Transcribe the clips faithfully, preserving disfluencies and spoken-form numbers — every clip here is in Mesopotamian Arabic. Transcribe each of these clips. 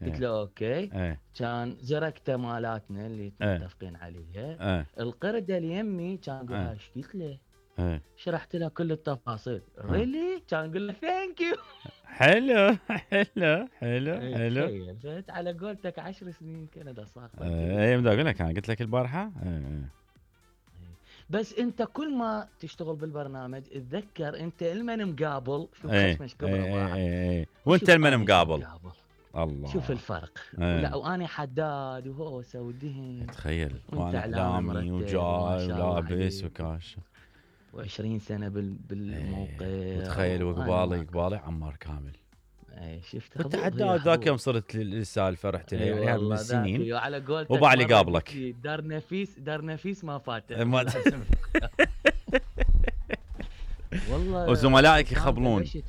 قلت له اوكي. ايه كان زركته مالاتنا اللي ايه متفقين عليها. ايه القرده اللي يمي كان يقول ايه هاي ايش قلت له؟ ايه شرحت له كل التفاصيل. اه. ريلي؟ كان يقول له ثانك يو. حلو حلو حلو اي حلو. تخيل، فهمت على قولتك عشر سنين كندا صار. ايه بدي اقول لك انا قلت لك البارحه. ايه ايه. بس انت كل ما تشتغل بالبرنامج تذكر انت المن مقابل. شوف ايه خشمش كبره ايه واحد. ايه ايه. وانت وشوف المن أنا مقابل. مقابل. الله. شوف الفرق. ايه. ولا واني حداد وهوسه ودهن. تخيل وانت وانا اعلامي اعلامي مرتب وما وجاي شاء الله ولابس عليك. وكاش. وعشرين سنه بال بالموقع. ايه. وتخيل وقبالي قبالي عمار كامل. اي شفت كنت حظوظ. حداد ذاك يوم صرت للسالفه رحت لها اي يعني من والله السنين. ذاك على قولتك وبعلي مرة قابلك. قلت لي دار نفيس دار نفيس ما فاتت. ما- لازم. والله وزملائك سلطان يخبلون. بلشت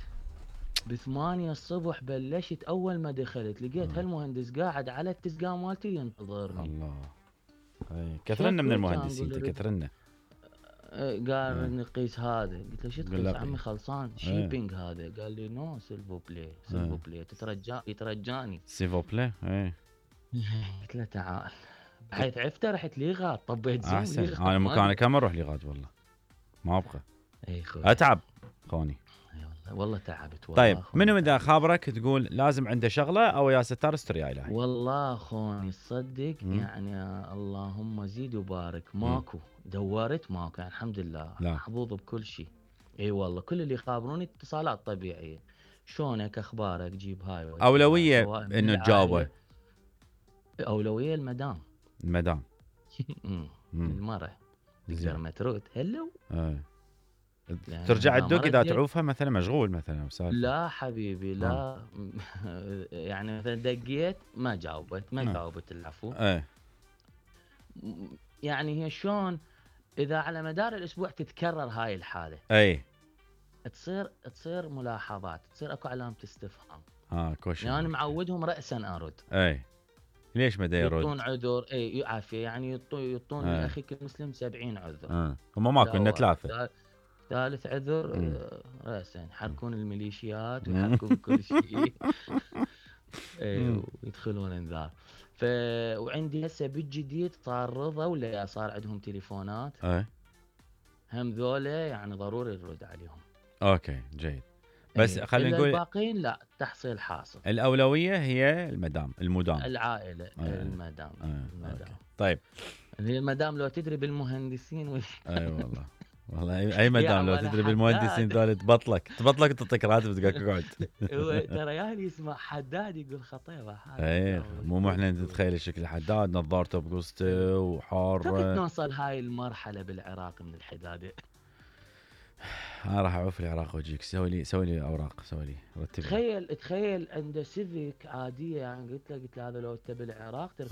بثمانية الصبح. بلشت اول ما دخلت لقيت هالمهندس قاعد على التسقا مالتي ينتظرني. الله. اي كثرنا من شكو المهندسين كان يقول كثرنا. آه، قال نقيس هذا. قلت له شو قل تقيس لك عمي إيه. خلصان شيبينج هذا. قال لي نو سيلفو بلاي سيلفو بلاي تترجى يترجاني. سيفو بلاي. اي قلت له تعال. بحيث عفته رحت ليغاد طبيت زوم احسن. ليغاد. انا ما مكانك كم اروح لغاد والله ما ابقى اي خوي. اتعب خوني. اي والله والله تعبت والله. طيب خوني منو اذا تعبت. خابرك تقول لازم عنده شغله او يا ستار استر يا الهي. والله خوني تصدق مم. يعني اللهم زيد وبارك ماكو. دورت ماكو يعني الحمد لله. لا. محظوظ بكل شيء. اي والله كل اللي يخابروني اتصالات طبيعيه. شلونك اخبارك جيب هاي وجيب اولويه هاي، سواء من انه العائلة. تجاوبه. اولويه المدام. المدام. مم. مم. المرة تقدر زين. ما ترد هلو. ايه. يعني ترجع إذا تدق ما اذا رديت- تعوفها مثلا مشغول مثلا وسالفه. لا حبيبي لا. يعني مثلا دقيت ما جاوبت ما آه. جاوبت العفو. ايه يعني هي شلون اذا على مدار الاسبوع تتكرر هاي الحاله اي تصير تصير ملاحظات تصير اكو علامه استفهام. اه كوشن. يعني انا معودهم راسا ارد. اي ليش ما يرد؟ يعطون عذر. اي عافيه يعني يعطون يعطون آه. لاخيك المسلم سبعين عذر. اه هم ماكو لنا ثلاثه. ثالث عذر مم. آه، راسا يحركون الميليشيات مم. ويحركون كل شيء. اي مم. ويدخلون انذار. ف وعندي هسه بالجديد صار رضا ولا صار عندهم تليفونات. اي هم ذولا يعني ضروري نرد عليهم. اوكي جيد. بس إيه. خلينا إلا نقول الباقيين لا تحصيل حاصل. الاولويه هي المدام المدام. العائله آه. المدام آه. المدام. أوكي. طيب هي المدام لو تدري بالمهندسين و... اي والله والله اي أي مدام لو يا تدري حداد. بالمهندسين ذول تبطلك تبطلك تعطيك راتب تقعد تقعد. هو ترى يعني يسمع حداد يقول خطيبه هذا. اي مو مو احنا نتخيل شكل حداد نظارته بقصته كيف وحار. نوصل هاي المرحله بالعراق من الحداده؟ انا راح اعوف العراق واجيك. سوي لي سوي لي اوراق سوي لي رتب لي. تخيل تخيل عنده سيفيك عاديه يعني قلت له قلت له هذا لو انت بالعراق تركب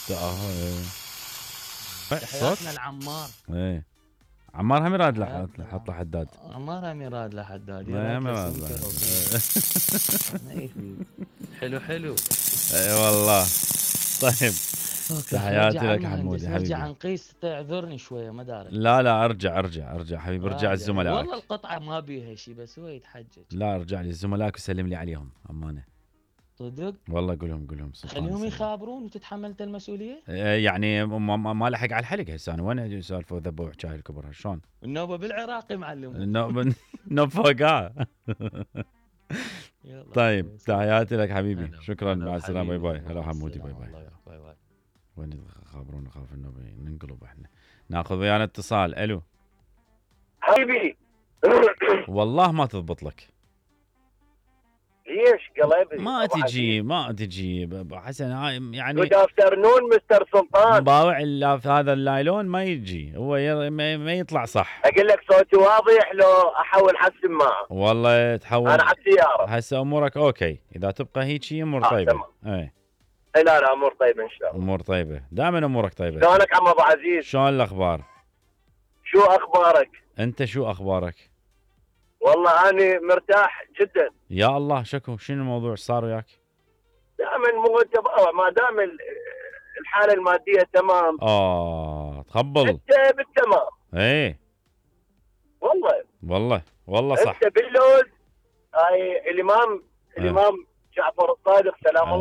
شاهد. اه تحياتنا صوت. العمار. ايه عمار هم يراد له حياتنا حط له حداد. عمار هم يراد له حداد. ما هم يراد يراد له. له سمكة. ما يفيد. حلو حلو. اي والله. طيب أوكي، تحياتي نرجع لك عن حمود المهندس، يا نرجع حبيبي. عن قيس تعذرني شويه ما داري. لا لا ارجع ارجع ارجع حبيبي ارجع راجع. الزملائك. والله القطعه ما بيها شيء بس هو يتحجج. لا ارجع لي الزملائك وسلم لي عليهم امانه. صدق والله قولهم قولهم سلطان خليهم يسلم. يخابرون وتتحملت المسؤوليه. إيه يعني ما, ما ما لحق على الحلق هسه انا وين سالفه وذبوا وحكايه الكبر شلون؟ النوبه بالعراق معلم. النوب نوب فوقها. يلا. طيب تحياتي لك حبيبي. هلا. شكرا هلا مع السلامه باي حبيبي. باي. هلا مع حمودي باي السلامة. باي. الله باي باي. وين خابرون نخاف انه ننقلب احنا. ناخذ ويانا اتصال. الو حبيبي. والله ما تضبط لك. ليش قلبي؟ ما تجي ما تجي ب- حسن هاي يعني جود افترنون مستر سلطان. مباوع الا في هذا اللايلون ما يجي هو ير... ما ما يطلع صح. اقول لك صوتي واضح لو احول حق سماعه. والله تحول. انا على السياره. هسه امورك اوكي اذا تبقى هيك امور آه طيبه. تمام. اي اي لا لا امور طيبه ان شاء الله. امور طيبه دائما امورك طيبه. شلونك عم ابو عزيز؟ شلون الاخبار؟ شو اخبارك؟ انت شو اخبارك؟ والله اني مرتاح جدا. يا الله شكو شنو الموضوع صار وياك؟ دائما مو انت بقى، ما دام ال- الحاله الماديه تمام اه تخبل. انت بالتمام. ايه والله والله والله صح. انت باللوز. هاي الامام آه. الامام جعفر الصادق سلام آه. الله